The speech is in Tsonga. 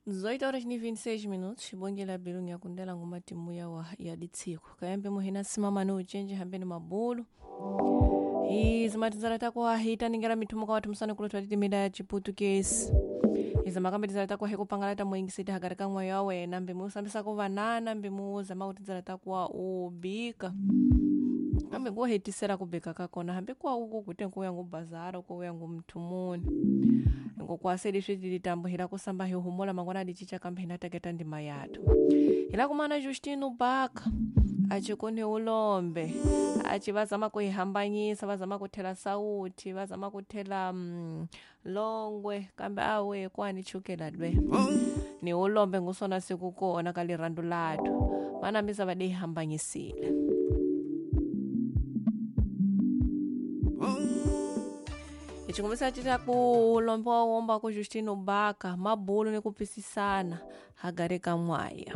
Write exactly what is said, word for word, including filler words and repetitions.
Dezoito horas ni vinte e seis minutos, bongela bilungu ya kundela ngoma timu ya wa ya ditsiko. Kayambe muhina simama no uchenje hambeni mabulu. Izi matizala takwa hita ningera mithumo kwa watu msana kulotwa titimida ya Chiputukezi. Izi makambetizala takwa hekupangala ta mwingisita hakati ka mwayo wawe nambe musambisa kuvanana mbe muuza mautizala takwa ubika. Kambe kuhetisera kubika kakona hambe kwa uku kute nkuya ngubazara kuya ngumthumuni. Ngokwaseli switilitambo hila kusamba hihumola mangwana dichicha kambe hinateketa ndima yathu. Hila kumana Justino Baka achikone ulombe achi vazama kuihambanyisa vazama kuthela sauti vazama kuthela mm, longwe kambe awe kwani chukela dwe ni ulombe ngusona sikukona kalirandu lathu vanambisa vadihambanyisile. Ichikumbisa chita ku ulombe wa womba ku Justino Baka mabulu ni kupisisana hagare ka mwaya.